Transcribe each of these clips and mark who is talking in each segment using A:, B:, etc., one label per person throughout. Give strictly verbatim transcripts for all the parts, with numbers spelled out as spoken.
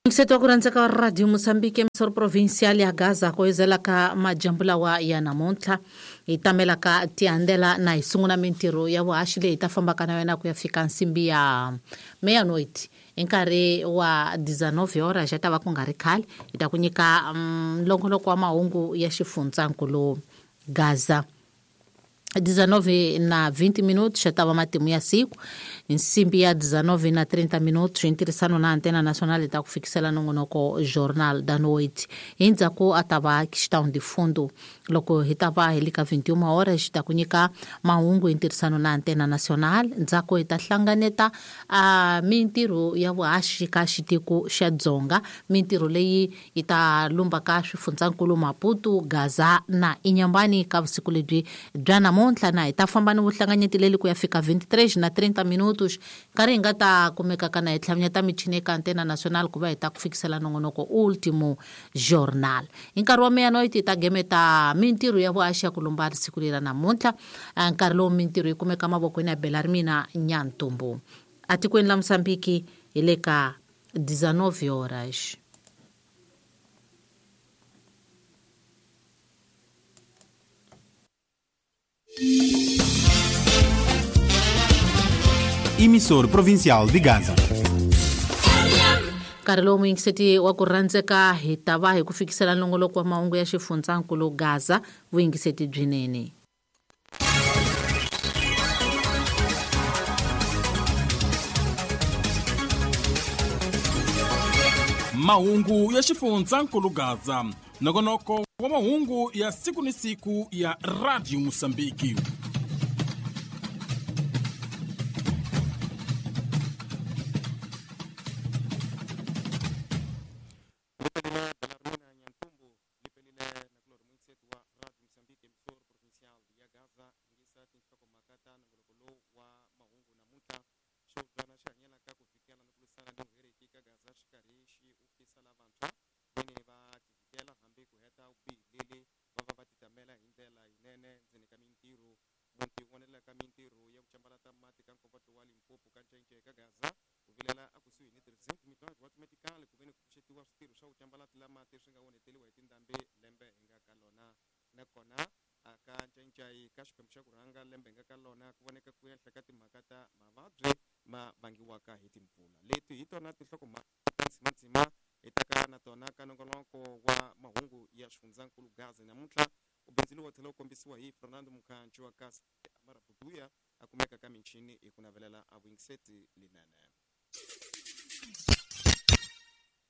A: Mseto wa ku rhandzeka wa Radio Mozambique emisoro provincial ya Gaza ku ezelaka majambu lawa ya namuntlha hi tamelaka tiandela na hi sungula mintirho ya vuhaxi leyi ta fambaka na yona ku ya fika nsimbi ya meia-noite hi nkarhi wa dezenove horas ya ta va ku nga ri khale hi ta ku nyika nlongoloko wa mahungu ya xifundzankulu Gaza. dezenove na vinte minutos já estava matimu ya siku nsimbi ya dezenove na trinta minutos ntirhisano na Antena Nacional ta ku fikisela nongonoko Jornal da Noite endzhaku a ta va questão de fundo loko hi ta va hi le ka vinte e uma horas ta ku nyika mahungu hi ntirhisano na Antena Nacional ndzhaku hi ta hlanganeta a mintirho ya vuhaxi ka xitiko xa Dzonga mintirho leyi yi ta lumbaka swifundzankulu Maputo Gaza na Inhambane ka vusiku lebyi bya namuntlha na hi ta famba ni vuhlanganyeti leli ku ya fika vinte e três na trinta minutos nkarhi hi nga ta kumekaka na hi tlhavinyeta michini eka Antena Nacional ku va hi ta ku fikisela nongonoko Último Jornal hi nkarhi wa meia-noite hi ta gemeta mintirho ya vuhaxi ya ku lumba siku leri namuntlha nkarhi lowu mintirho yi kumeka mavokweni ya Belarmina Nyantumbu atikweni la Mozambique hi le ka dezenove horas.
B: Emissor Provincial de Gaza.
A: Nkarhi lowu muyingiseti wa ku rhandzeka hi ta va hi ku fikisela nongoloko wa mahungu ya xifundzankulu Gaza vuyingiseti byinene.
B: Mahungu ya xifundzankulu Gaza nongonoko wa mahungu ya siku ni siku ya Radio Mozambique.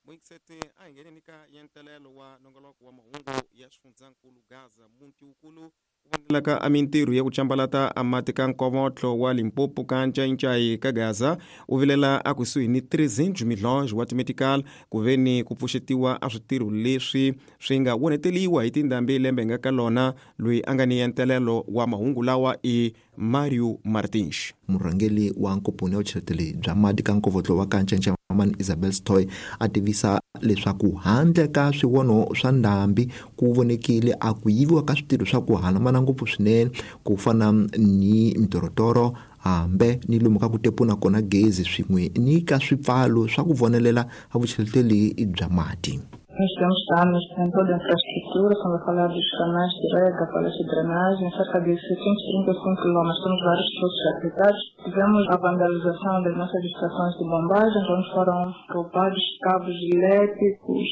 C: Muingiseti a hi ngheneni ka yentelelo wa nongoloko wa mahungu ya xifundzankulu Gaza muti wukulu wu vonelaka a mintirho ya ku cambalata a mati ka nkovotlo wa Limpopo ka Ncayincai ka Gaza u vilela a kusuhi ni trezentos milhões wa timetical ku veni ku pfuxetiwa a switirho leswi swi nga woneteliwa hi tindhambi lembe nga ka lona loyi a nga ni yentelelo wa mahungu lawa i Mario Martins.
D: Murhangeri wa nkomponi ya vucheleteli bya mati ka nkovotlo wa ka Ncayincai Mamani Isabel Stoy a tivisa leswaku handle ka swivono swa ndhambi ku vonekile a ku yiviwa ka switirho swa ku hambana ngopfu swinene ku fana ni mitorotoro hambe ni lomu ka ku tepuna kona gezi swin'we ni ka swipfalo swa ku vonelela a vucheleteli bya mati.
E: Nós temos danos em toda a infraestrutura, estamos a falar dos canais de rega, falhas de drenagem, cerca de setecentos e trinta e cinco quilômetros, temos vários poços aplicados. Tivemos a vandalização das nossas estações de bombagem, onde foram roubados cabos elétricos,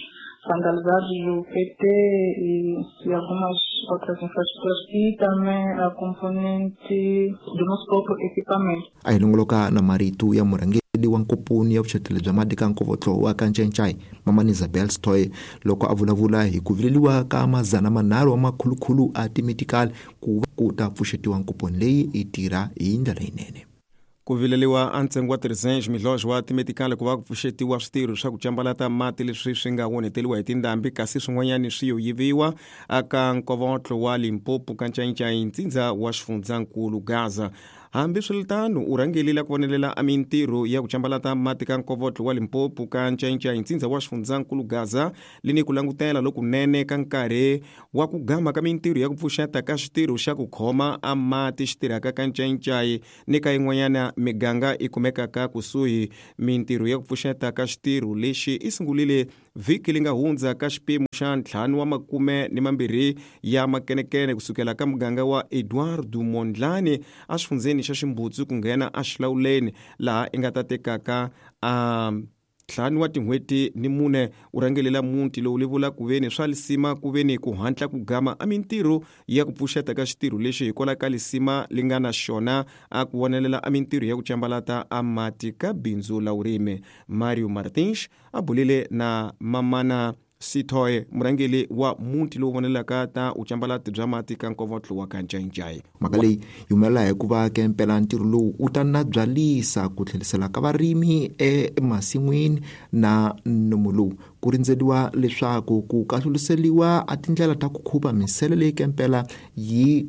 E: vandalizados o P T e, e algumas outras infraestruturas e também a componente do nosso próprio equipamento.
D: A hi longoloka na marito ya murhangeri wa nkomponi ya vucheleteli bya mati ka nkovotlo wa ka Ncayincai Mamani Isabel Stoy loko a vulavula hi ku vileliwa ka mazana manharhu wa makhulukhulu a timetical ku ku ta pfuxetiwa nkomponi leyi yi tirha hi ndlela yinene.
C: Ku vileliwa a ntsengo wa trezentos milhões wa timetical ku va ku pfuxetiwa switirho swa ku cambalata mati leswi swi nga woneteliwa hi tindhambi kasi swin'wanyani swi yo yiviwa aka nkovotlo wa Limpopo ka Ncayincai ntsindza wa xifundzankulu Gaza. Hambiswiritano u rhangelile ku vonelela a mintirho ya ku cambalata mati ka nkovotlo wa Limpopo ka Ncayincai ntsindza wa xifundzankulu Gaza lini ku langutela lokunene ka nkarhi wa ku gama ka mintirho ya ku pfuxeta ka xitirho xa ku khoma a mati xi tirhaka ka Ncayincai ni ka yin'wanyana miganga i kumekaka kusuhi. Mintirho ya ku pfuxeta ka xitirho lexi i sungulile vhiki li nga hundza ka xipimo xa ntlhanu wa makume ni mambirhi ya makenekene kusukela ka muganga wa Eduardo Mondlane a xifundzeni xa Ximbutsu ku nghena a xilawuleni laha i nga ta tekaka a ntlhanu wa tin'hweti ni mune. U rhangelela muti lowu li vula ku veni swa lisima ku veni ku hatla ku gama a mintirho ya ku pfuxeta ka xitirho lexi hikwalaho ka lisima li nga na xona a ku vonelela a mintirho ya ku cambalata a mati ka bindzu la vurimi. Mario Martins a bulile na Mamana Sithoye, murhangeri wa muti lowu vonelaka ta ucambalati bya mati ka nkovotlo wa ka Ncayincai.
D: Mhaka leyi yi humelela hikuva ke mpela ntirho lowu wu ta nabyalisa ku tlherisela ka varimi emasin'wini na nomu lowu ku rindzeriwa leswaku ku kahluliseliwa a tindlela ta ku khupa misele leyi ke mpela yi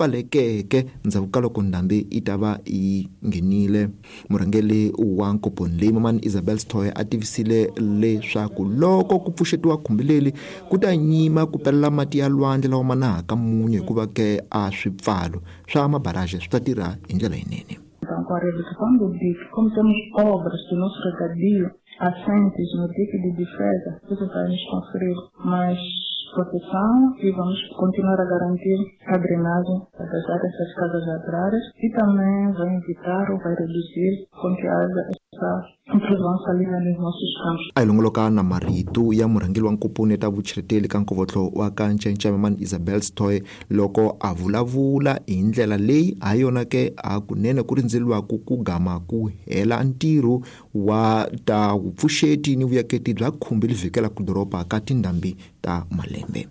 D: pfalekeke ndzhaku ka loko ndhambi yi ta va yi nghenile. Murhangeri wa nkomponi leyi Mamani Isabel Stoy a tivisile leswaku loko ku pfuxetiwa khumbi leri ku ta nyima ku pelela mati ya lwandle lawa ma nahaka munyu hikuva ke a swipfalo swa mabaraje swi ta tirha hi ndlela yinene.
E: Então, com a redução do dique, como temos obras do nosso regadio assentes no dique de defesa, isso vai nos conferir mais proteção e vamos continuar a garantir a drenagem das áreas das casas agrárias e também vai evitar ou vai reduzir com que haja essa intrusão salina nos nossos campos.
D: A hi longoloka na marito ya murhangeri wa nkomponi ta vucheleteli ka nkovotlo wa ka Ncayincai Mamani Isabel Stoy loko a vulavula hi ndlela leyi ha yona ke a kunene ku rindzeriwaku ku gama ku hela ntirho wa ta vupfuxeti ni vuyaketi bya khumbi li vhikelaka doroba ka tindhambi ta malembe.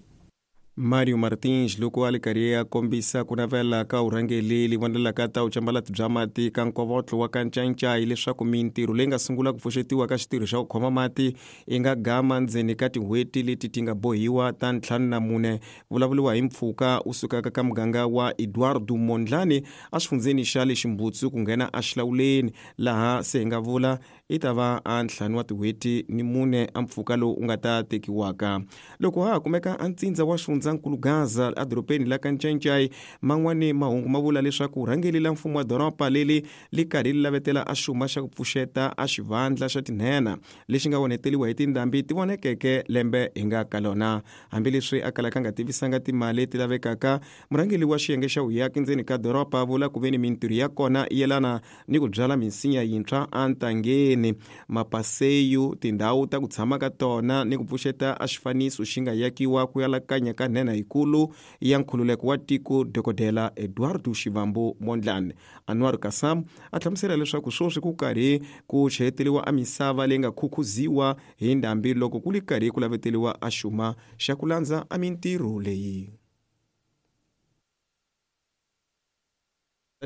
C: Mario Martins loko a li karhi a kombisa ku navela ka vurhangeri li vonelaka ta vucambalati bya mati ka nkovotlo wa ka Ncayincai leswaku mintirho leyi nga sungula ku pfuxetiwa ka xitirho xa ku khoma mati yi nga gama ndzeni ka tin'hweti leti ti nga bohiwa ta ntlhanu na mune. Vulavuriwa hi mpfhuka u sukaka ka muganga wa Eduardo Mondlane a xifundzeni xa le Ximbutsu ku nghena a xilawuleni laha se hi nga vula i ta va a ntlhanu wa tin'hweti ni mune a mpfhuka lowu u nga ta tekiwaka. Loko ha ha kumeka a ntsindza wa xifundzankulu Gaza edorobeni la ka Ncayincai, man'wani mahungu ma vula leswaku rhangeri la mfumo wa doroba leri li karhi li lavetela a xuma xa ku pfuxeta a xivandla xa tinhena lexi nga onheteliwa hi tindhambi ti vonekeke lembe hi nga ka lona. Hambileswi a kalaka nga tivisanga timali leti lavekaka, murhangeri wa xiyenge xa vuyaki ndzeni ka doroba vula ku veni mintirho ya kona yi yelana ni ku byala minsinya yintshwa entangeni, mapaseyu, tindhawu ta ku tshama ka tona ni ku pfuxeta a xifaniso xi nga yakiwa ku yalakanya ka nhenha yikulu ya nkhululeko wa tiko Dokodela Eduardo Shivambu Mondlane. Anwar Kasam a hlamusela leswaku sweswi ku karhi ku cheleteliwa a misava leyi nga khukhuziwa hi ndhambi loko ku li karhi ku laveteliwa a xuma xa ku landza a mintirho leyi.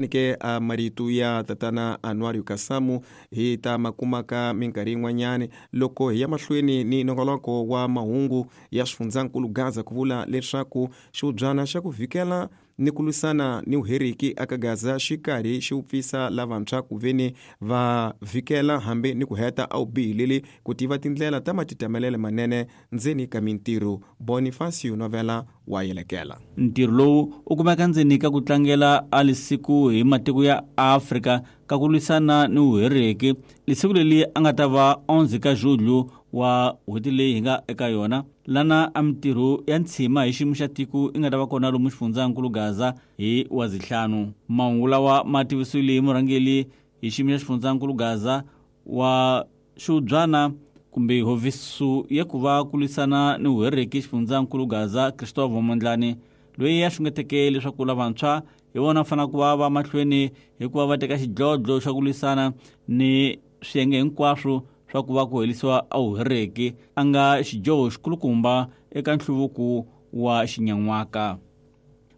C: Ke a marito ya tatana Anwar Kasamu hi ta makumaka minkarhi yin'wanyani loko hi ya mahlweni ni nongoloko wa mahungu ya xifundzankulu Gaza ku vula leswaku xiubyana xa ku vhikela ni ku lwisana ni vuheriki aka Gaza xi karhi xi vupfisa lavantshwa ku veni va vhikela hambi ni ku heta a vubihi ku tiva tindlela ta matitamelele manene ndzeni ka mintirho. Bonifacio Novela wa yelekela.
F: Ntirho lowu u kumeka ndzeni ka ku tlangela a lisiku hi matiko ya Afrika ka ku lwisana ni vuheriki. Lisiku leri a nga ta va onze ka julho wa n'hweti leyi hi nga eka yona lana a mintirho ya ntshima hi xiyimo xa tiko i nga ta va kona lomu xifundzankulu Gaza hi wa zihlanu. Mahungu lawa ma tivisiwile hi murhangeri hi xiyimo xa xifundzankulu Gaza wa xiubyana kumbe hofisi ya ku va ku lwisana ni vuheriki xifundzankulu Gaza Christopher Mondlane loyi a xungeteke leswaku lavantshwa hi vona fanele ku va va mahlweni hikuva va teka xidlodlo xa ku lwisana ni swiyenge hinkwaswo swa ku va ku herisiwa a vuheriki a nga xidyoho xikulukumba eka nhluvuko wa xinyan'waka.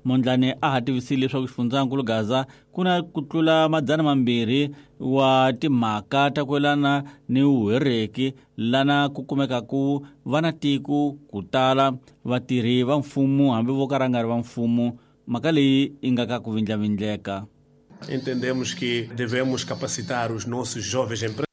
F: Mondlane a ha tivisile leswaku xifundzankulu Gaza ku na ku tlula madzana mambirhi wa timhaka ta ku yelana ni vuheriki lana ku kumekaku va na tiko ku tala vatirhi va mfumo hambi vo ka ra nga ri va mfumo. Mhaka leyi yi nga ka ku vindlavindleka.
G: Entendemos que devemos capacitar os nossos jovens empresários.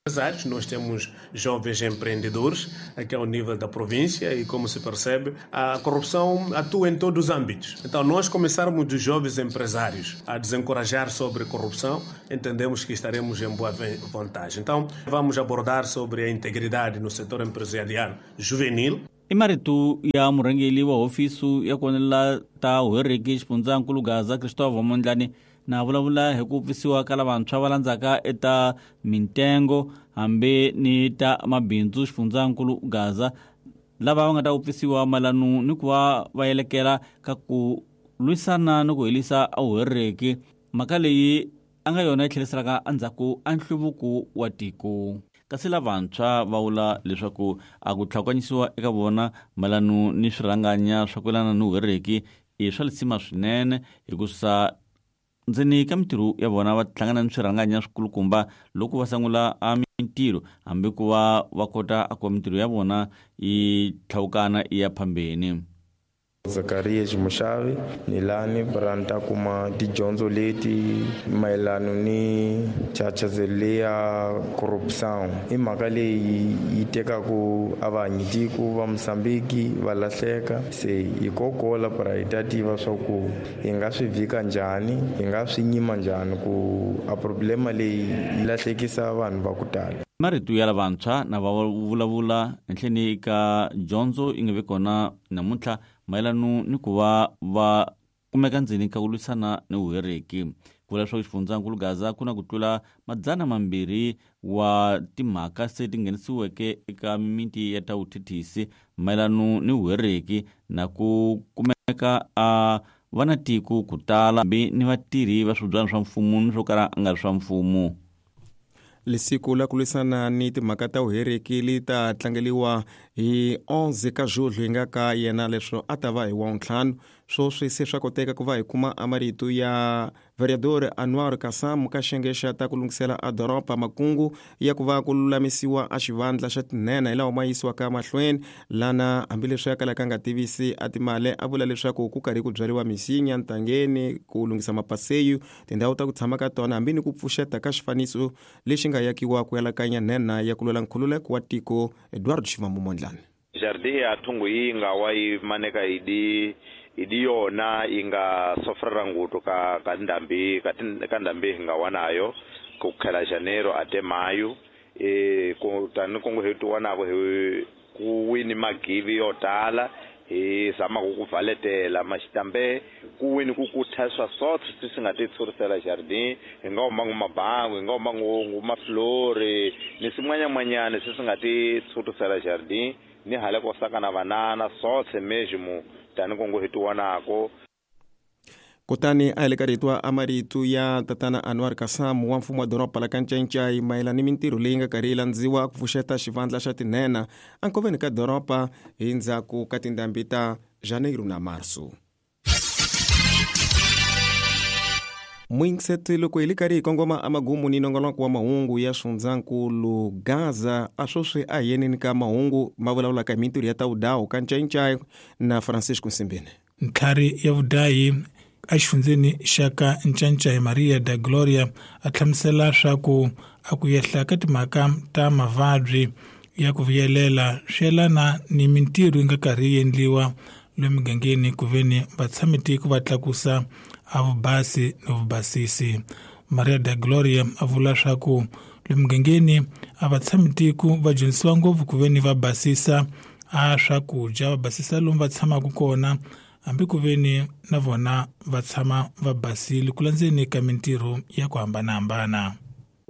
G: Nós temos jovens empreendedores aqui ao nível da província e, como se percebe, a corrupção atua em todos os âmbitos. Então, nós começarmos dos jovens empresários a desencorajar sobre corrupção, entendemos que estaremos em boa vantagem. Então, vamos abordar sobre a integridade no setor empresarial juvenil.
F: I marito ya murhangeri wa hofisi ya konela ta Huereki xifundzankulu Gaza Christopher Mondlane na vulavula hi ku pfisiwa ka lavantshwa va landzaka eta mintengo hambi ni ta mabindzu xifundzankulu Gaza lava va nga ta pfisiwa mayelana ni ku va va yelekela ka ku lwisana ni ku helisa a Huereki mhaka leyi a nga yona yi tlheriselaka endzhaku a nhluvuko wa tiko. Kasi lavantshwa va vula leswaku a ku tlhakanyisiwa eka vona mayelana ni swirhanganya swa ku yelana ni Huereki i swa lisima swinene hikusa ndzeni ka mintirho ya vona va hlangana ni swirhanganya swikulukumba loko va sungula a mintirho hambi ku va va kota a ku mintirho ya vona yi tlhawukana yi ya phambeni.
H: Zacarias Mushavi ni lani branta kuma tidyondzo leti mayelana ni chachazeleya corruption i mhaka leyi yi tekaku a vahanyitiko va Mozambiki va lahleka se hi kokola para hi ta tiva swa ku hi nga swi vhika njhani hi nga swi nyima njhani ku a problema leyi yi lahlekisa vanhu va ku tala.
F: Marito ya lavantshwa na va vulavula enhleni ka dyondzo yi nga vi kona namuntlha mayelana ni ku va va kumeka ndzeni ka ku lwisana ni Huereki. Ku vula leswaku xifundzankulu Gaza ku na ku tlula madzana mambirhi wa timhaka se ti nghenisiweke eka mimiti ya ta vuthethisi mayelana ni Huereki na ku kumeka a va na tiko ku tala hambi ni vatirhi va swibyana swa mfumo ni swo kala a nga ri swa mfumo.
C: Lisiku la ku lwisana ni timhaka ta Huereki li ta tlangeliwa hi onze ka julho hi nga ka yena leswo a ta va hi wa ntlhanu. Swoswi se swa koteka ku va hi kuma a marito ya vereador Anwar Kassam ka xiyenge xa ta ku lunghisela a doroba makungu ya ku va ku lulamisiwa a xivandla xa tinhenha hi lawa ma yisiwaka mahlweni lana hambileswi ya kalaka nga tivisi a timali a vula leswaku ku karhi ku byariwa misinya ntangeni ku lunghisa mapaseyu tindhawu ta ku tshama ka tona hambi ni ku pfuxeta ka xifaniso lexi nga yakiwa ku yalakanya nhenha ya ku lwela nkhululeko wa tiko Eduardo Shivambu Mondlane.
I: Jardim ya thungu yi nga wa yi maneka idi idi yona yi nga sofrera ngutu ka ka ndambi ka ka ndambi hi nga wanayo ku khela janeiro ate mayo e ku tani ku hi tiwanako hi ku wini magivi yo tala hi zama ku ku valetela maxitambe ku wini ku kutha swa sotho swi nga ti tshurisela jardin hi nga huma ngu mabangu hi nga huma ngu maflori ni swin'wanyamanyana swi swi nga ti tshurisela jardin ni hala ko saka na banana sothe mesmo tani ku hi tiwanako.
C: Kutani a hi le ka rito a marito ya tatana Anwar Kassam wa mfumo wa doroba la Kanchenchai mayelana ni mintirho leyi nga karhi yi landziwa ku pfuxeta xivandla xa tinhenha enkoveni ka doroba hi ndzhaku ka tindhambi ta Janeiro na Marso. Mwingiseti loko hi le karhi hi kongoma amagumu ni nongonoko wa mahungu ya xifundzankulu Gaza a swoswi a hi yeneni ka mahungu ma vulavulaka hi mintirho ya ta vudawu ka Ncayincai na Francisco Nsimbini.
J: Ntlhari ya vudayi exifundzeni xa ka Ncancai Maria da Gloria a hlamusela swa ku a ku yehla ka timhaka ta mavabyi ya ku vuyelela swi yelana ni mintirho yi nga karhi yi endliwa lomu migangeni ku veni vatshamitiko va tlakusa a vubasi ni vubasisi. Maria da Gloria a vula swa ku lomu migangeni a vatshamitiko va dyondzisiwa ngopfu ku veni va basisa a swakudya va basisa lomu va tshamaka kona hambi ku veni na vona va tshama va basile ku landzeni ka mintirho ya ku hambanahambana.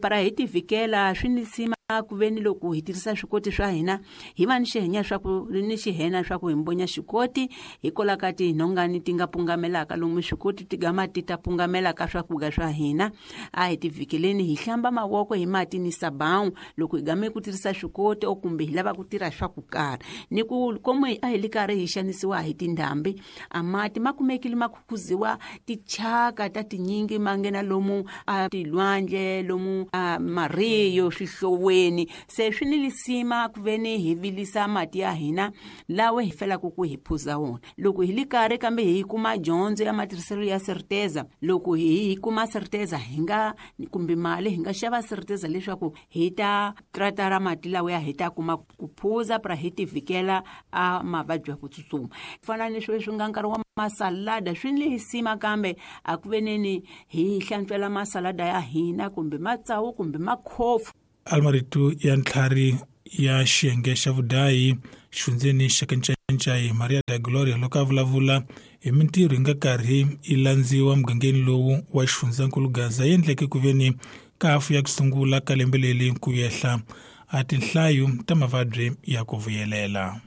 K: Para hi tivikela swi ni sima ku veni loko hi tirhisa swikoti swa hina hi va ni xihenya swa ku ni xihena swa ku hi mbonya xikoti hikola ka tinhongani ti nga pungamelaka lomu swikoti ti gama ti ta pungamelaka swakudya swa hina. A hi tivikeleni hi hlamba mavoko hi mati ni sabawu loko hi game ku tirhisa swikoti o kumbe hi lava ku tirha swa ku karhi ni ku komo a hi li karhi hi xanisiwa hi tindhambi a mati ma kumekile ma khukhuziwa tichaka ta tinyingi ma nghena lomu a tilwandle lomu a mariyo swihloweni. mirini. Se swi ni lisima ku veni hi vilisa mati ya hina lawa hi felaka ku hi phuza wona. Loko hi li karhi kambe hi kuma dyondzo ya matirhiselo ya certeza, loko hi kuma certeza hi nga kumbe mali hi nga xava certeza leswaku hi ta tratara mati lawa ya hi ta kuma ku phuza pra hi tivikela a mavabyi ya ku tsutsuma. Fana ni sweswi nga nkarhi wa masalada swi ni lisima kambe a ku veneni hi hlantswela masalada ya hina kumbe matsawu kumbe makhofu.
J: Almarito ya ntlhari ya xiyenge xa vudayi xifundzeni xa Kanchanchai Maria da Gloria loko a vulavula hi mintirho yi nga karhi yi landziwa mugangeni lowu wa xifundzankulu Gaza yi endleke ku veni ka hafu ya ku sungula ka lembe leri ku yehla a tinhlayo ta mavabyi ya ku vuyelela.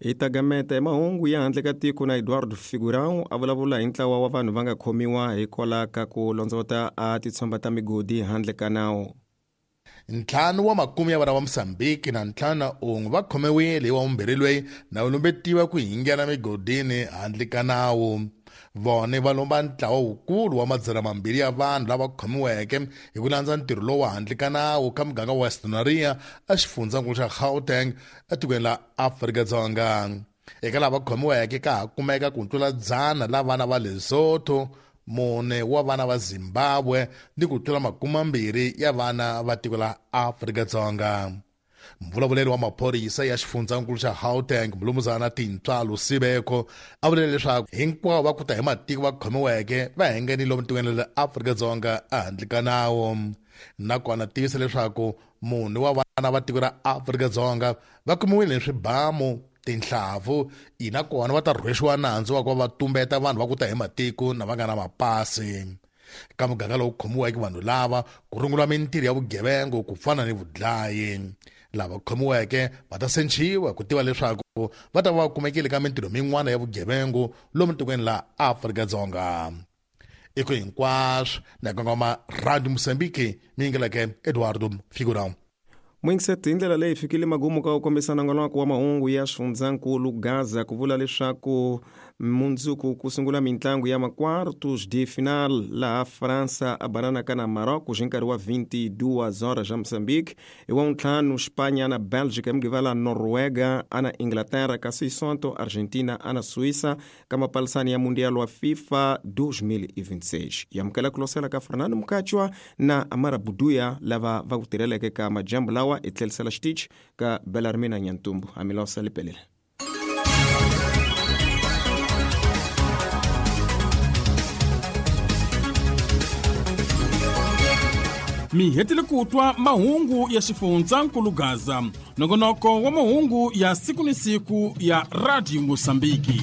C: Hi ta gameta hi mahungu ya handle ka tiko na Eduardo Figurão a vulavula hi ntlawa wa vanhu va nga khomiwa hikwalaho ka ku londzovota a titshomba ta migodi handle ka nawu.
L: Ntlhanu wa makume ya vana va Mozambique na ntlhanu na un'we va khomiwile hi wa vumbirhi loyi na lumbetiwa ku hingela migodini handle ka nawu. Vone va lomba ntlawa wukulu wa madzana mambirhi ya vanhu lava khomiweke hi ku landza ntirho lowu handle ka nawu ka muganga wa Western Area exifundzankulu xa Gauteng etikweni la Afrika-Dzonga. Eka lava khomiweke ka ha kumeka ku tlula dzana la vana va Lesotho, mune wa vana va Zimbabwe ni ku tlula makume mambirhi ya vana va tiko la Afrika-Dzonga. Mvulavuleri wa maphorisa ya xifundzankulu xa Gauteng Mlumuzana Tintswalo Sibeko a vule leswaku hinkwavo va kuta hi matiko va khomiweke va hengenile lomu tikweni la Afrika-Dzonga ehandle ka nawu. Nakona tivisa leswaku munhu wa vana va tiko ra Afrika-Dzonga va kumiwile hi swibamu, tinhlavu, ina kona va ta rhwexiwa nandzu wa ku va tumbeta vanhu va kuta hi matiko na va nga na mapasi. Ka muganga lowu khomiweke vanhu lava ku rungula mintirho ya vugevenga ku fana ni vudlayi. Lava khomiweke va ta senciwa ku tiva leswaku va ta va kumekile ka mintirho min'wana ya vugevenga lomu tikweni la Afrika-Dzonga. I ku hinkwaswo na kongoma Radio Mozambique mi yingeleke Eduardo Figurão.
C: Mwingiseti hi ndlela leyi fikile magumu ka ku kombisa nongonoko wa mahungu ya xifundzankulu Gaza ku vula leswaku mundzuku ku sungula mintlangu ya makwartos de final laha Fransa a bananaka na Marocco hi nkarhi wa vinte e duas horas ja Moçambique, hi wa ntlhanu Espanha na Bélgica, hi Mugqivela Noruega ana Inglaterra, kasi hi Sonto Argentina ana Suíça ka mapalisani ya Mundial wa FIFA dois mil e vinte e seis. Hi amukela ku losela ka Fernando Mukachwa na Amara Buduya lava va ku tirheleke ka majambu lawa hi tlhelisela xitichi ka Belarmina Nyantumbu. Amilosa lipelele.
B: Mi hetile ku twa mahungu ya xifundzankulu Gaza, nongonoko wa mahungu ya siku ni siku ya Radio Mozambique.